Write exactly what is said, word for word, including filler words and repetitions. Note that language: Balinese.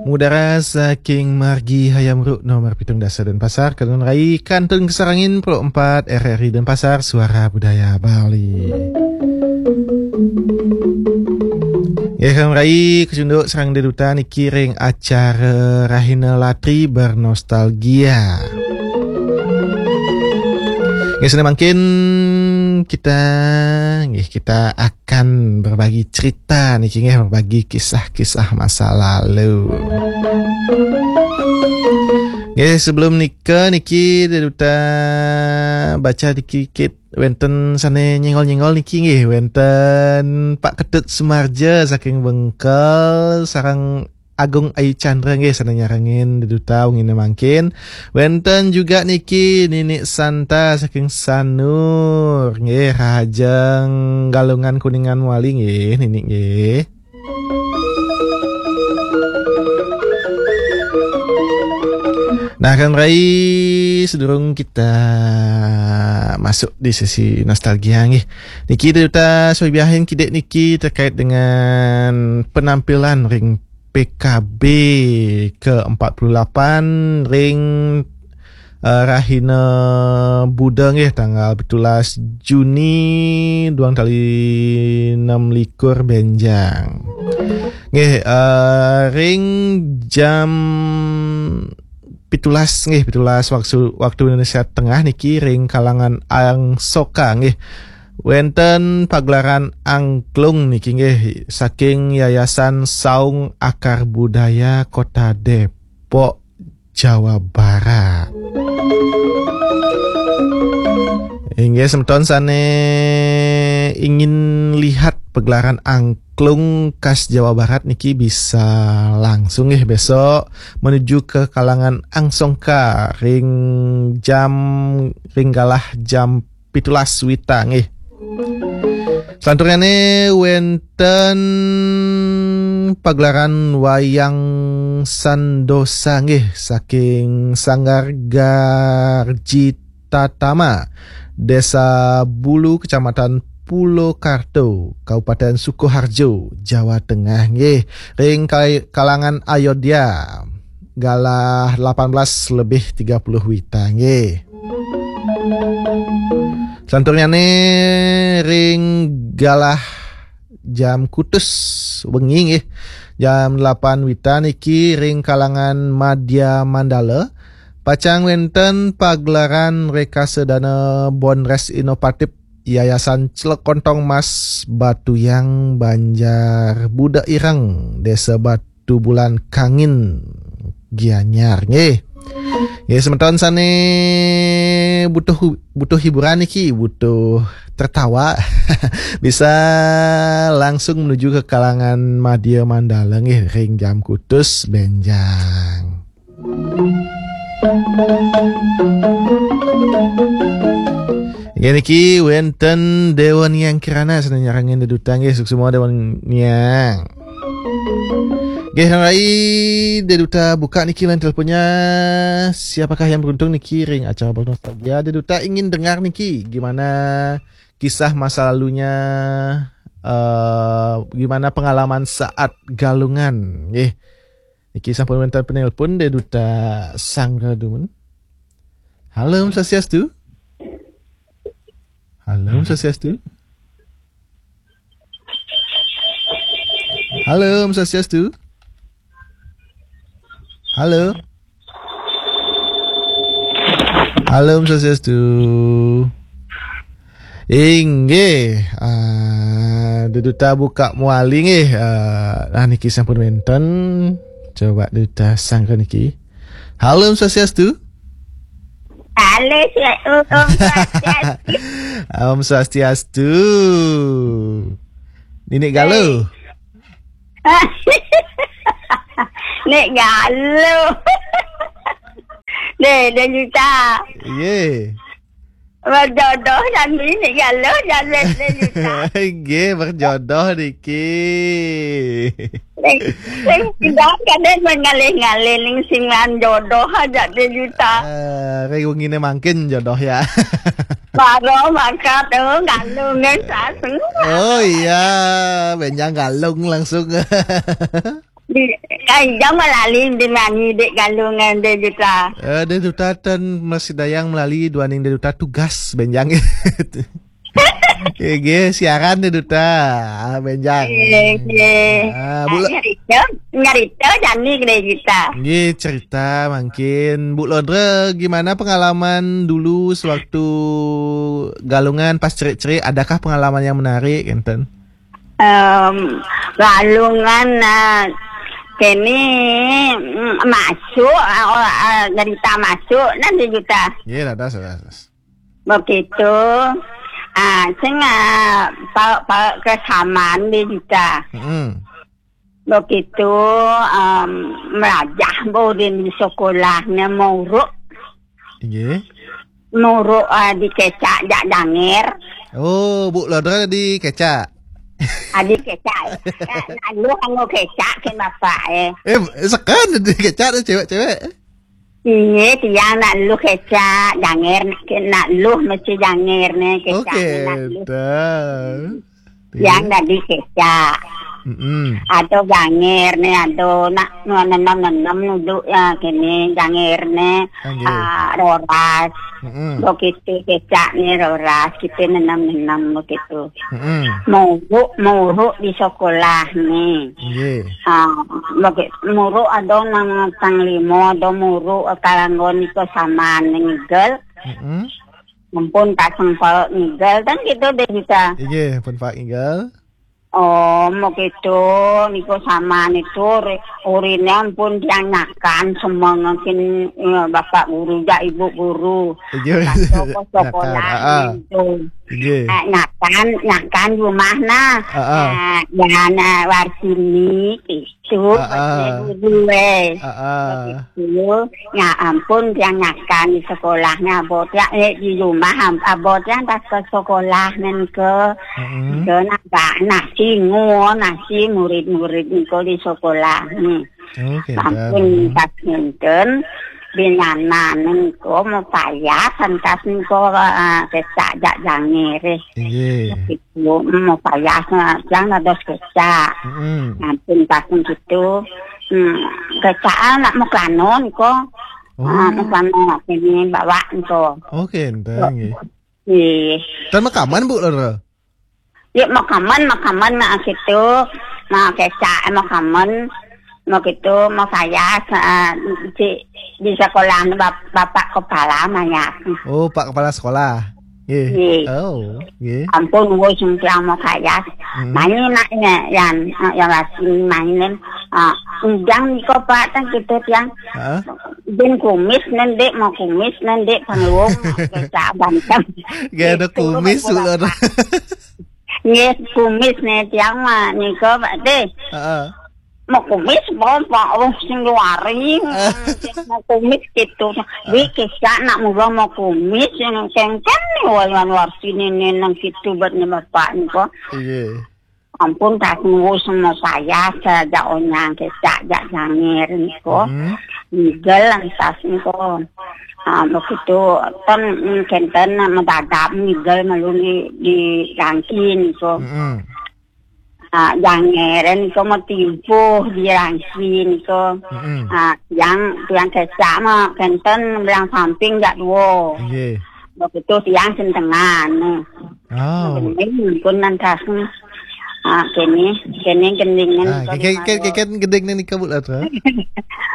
Mudara saking margi Hayam Wuruk nomor pitung dasa Denpasar, kanuhun rai kantun kasarengin Pro empat R R I Denpasar, Suara Budaya Bali. Nggih, kanuhun rai kacunduk sareng Dé Duta niki ring acara Rahina Latri Bernostalgia. Nggih, sané mangkin kita, nggih, kita akan berbagi cerita niki, nggih, berbagi kisah-kisah masa lalu. Nggih, sebelum nika niki Dé Duta baca dikit wénten sané nyenggol-nyenggol niki, nggih, wénten Pak Ketut Sumarja saking Bengkel sareng Agung Ayu Chandra, nggih, sané nyarengin Dé Duta wenginé mangkin. Wénten juga niki Nini Santa saking Sanur, nggih, rahajeng Galungan Kuningan mawali, nggih, Nini, nggih. Nah, kanuhun rai, sedurung kita masuk di sesi nostalgia, nggih, niki Dé Duta suabiahin kidik niki terkait dengan penampilan ring P K B ke empat puluh lapan ring, eh, Rahina Buda, nggih, tanggal pitulas Juni duang tali enam likur bénjang. Nggih, eh, ring jam pitulas, nggih, pitulas waktu, waktu Indonesia Tengah niki ring kalangan Angsoka, nggih. Wénten pagelaran angklung niki, nggih, saking Yayasan Saung Akar Budaya Kota Depok, Jawa Barat. Inggih, semeton sané ingin lihat pagelaran angklung khas Jawa Barat niki bisa langsung, nggih, besok menuju ke kalangan Angsoka ring jam, ring galah jam pitulas wita, nggih. Salanturnyané wénten pagelaran wayang Sandosa, nggih, saking Sanggar Garji Tatama, Desa Bulu, Kecamatan Pulokarto, Kabupaten Sukoharjo, Jawa Tengah, nggih, ring kai-, kalangan Ayodya, galah delapan belas lebih tiga puluh wita, nggih. Salanturnyané ring galah jam kutus wengi, nggih, jam delapan wita niki ring kalangan Madya Mandala, pacang wénten pagelaran Rekasa Dana Bonres Inovatif Yayasan Celekontong Mas Batuyang, Banjar Buda Ireng, Desa Batu Bulan Kangin, Gianyar, nggih. Nggih, semeton sané butuh hu-, butuh hiburan niki, butuh tertawa, bisa langsung menuju ke kalangan Madya Mandala, nggih, ring jam kutus bénjang. Inggih niki wénten Déwa Niang Kirana sané nyarengin Dé Duta, nggih, suksma Déwa Niang. Nggih, rai Dé Duta buka niki line teleponnya. Siapakah yang beruntung niki ring acara Bernostalgia? Dé Duta ingin dengar niki gimana kisah masa lalunya, eh, gimana pengalaman saat Galungan, nggih. Niki sampun wénten penelpon Dé Duta Sangga dumun. Halo, Om Swastiastu. Halo, Om Swastiastu. Halo, Om Swastiastu. Halo. Halo, Om Swastiastu. Inggih, ah, Dé Duta buka mawali, nggih. Ah, nah, niki sampun wénten. Coba Dé Duta sangga niki. Halo, Om Swastiastu. Halo, Swa-, Om, Om Swastiastu. Om Swastiastu. Nini Galuh. Nini Galuh. Dé, Dé Duta. Nggih. Berjodoh dan Nini Galuh dan Dé, Dé Duta. Nggih, berjodoh niki. Sing, sing tidak kadén ngalih-ngalih ning sing jodoh aja Dé Duta. Eh, ring wenginé mangkin jodoh ya. Baru mangkat, oh, Galuh nggih sasung. Oh iya, bénjang Galung langsung. Di, ai, jang malali di mani dek Galungan dek Duta. Eh, dek Duta ten masih dayang malali duaning dek Duta tugas benjang. Oke, oke, siaran dek Duta. Ah, benjang. Oke, oke. Ah, Bu Lo- Nyarita, nyarita jani dek Duta. Nggih, cerita mungkin. Bu Lodra, gimana pengalaman dulu sewaktu Galungan pas cerik-cerik? Adakah pengalaman yang menarik, enten? Em, Galungan, ah, kene, mm, masuk, ah, oh, ah, cerita masuk, nanti kita. Nggih, laras, laras. Begitu, ah, sing, ah, pa, pa, kesamaan di kita. Mm-mm. Begitu, em, melajah bodin di sekolah ne muruk. Nggih. Muruk, ah, dikecak jak janger. Oh, Bu Lodra dikecak. Ah, dikecak. Ya, lalu anu kecak ke bapak, eh. Eh, sekan dikecak tu cewek-cewek. Iya, tiang nak lu kecak janger, nak, nak lu mesti janger ne, kecak. Oke, ne nak lu. Dah. Yang tadi kecak. Mm-mm. Atau janger ne, atau nak nenem-nenem duduk ya kene janger ne, Nggih. Ah, roras. Mm-mm. Begitu kecak ne roras, kita nenem-nenem begitu. Mm-mm. Muruk, muruk di sekolah ne. Nggih. Ah, bagi, muruk ada nang tang limo, ada muruk kalanggon iko saman ngigel. Mm-mm. Ampun kaseng pelek ngigel, kan gitu deh bisa. Nggih, pun Pak Igal. Oh, mau gitu, niku sama niku uri-, urine ampun tiang nyakan semua mungkin, eh, Bapak Guru jak Ibu Guru. Nggih. Pas toko sekolah Nyakan, ah, ah. Gitu. Nggih. Eh, nyakan, nyakan rumah nah. Ah, ah. Eh, ya, nah, Warsini, gitu, Ah, ah. Guru, eh. Ah, ah. Gitu. Ya ampun, tiang nyakan di sekolahnya, abot ya, eh, di rumah, am-, abot yang tas ke sekolah, nen ke, Mm-mm. ke nambah nasi, nguo nasi, murid-murid niko di sekolah, nih. Oke, Ampun, dah. Pas ngenten, binana, nen ko, mau payah, santas niko, eh, kecak jak jangir, eh. Iya. Gitu, mau payah, eh, yang ada kecak. Mm-mm. Ampun, pas gitu, hmm, kecak, ah, nak mau kano, niko. Oh. Ah, mau kano, ini bawa, niko. Oke, enten, nggih. Ih. Tan makaman, Bu, loro? Ya, makaman, makaman, nah, gitu. Nah, kecak, makaman. Mau gitu, mau saya, sa-, di, di sekolah bap-, bapak kepala banyak. Oh, Pak Kepala Sekolah. Nggih. Nggih. Oh, nggih. Ampun, woi, sing tiang mau saya. Hmm. Main nak, ya, yang, yang masih mainin. Ah, undang niko, Pak, kan gitu, tiang. Hah? Bin kumis, nendek, mau kumis, nendek, panggung. Kecak, bantam. Gak ada gitu, kumis, Bu, loro. Nggih, kumis ne tiang mah nika, Pak, deh. Heeh. Mau kumis, Bapak, oh, sing luari. Mau kumis gitu. Wi, kisah nak mula mau kumis, yang kengken nih, wayan Warsini nih, nang gitu, buat ne Bapak nika. Iya. Ampun, tak nunggu semua saya, saja onyang, kecak, jak jangir, niko. Hmm. Nigel, lantas, niko. Ah, begitu, ten, mm, kenten, mendadak, nigel, malu di, di rangki, niko. Mm-mm. Ah, jangir, niko, mau timpuh, di rangki, niko. Mm-mm. Ah, yang, yang kecak, mah, kenten, belang samping, jak dua. Nggih. Begitu, tiang sentengan, nih. Oh. Gending, pun lantas, nih. Ah, kene, kene gending, nih, Ah, niko, keke-, di ke-, mana. Keke-, gending, nih, niko, Bu, lah, tuh.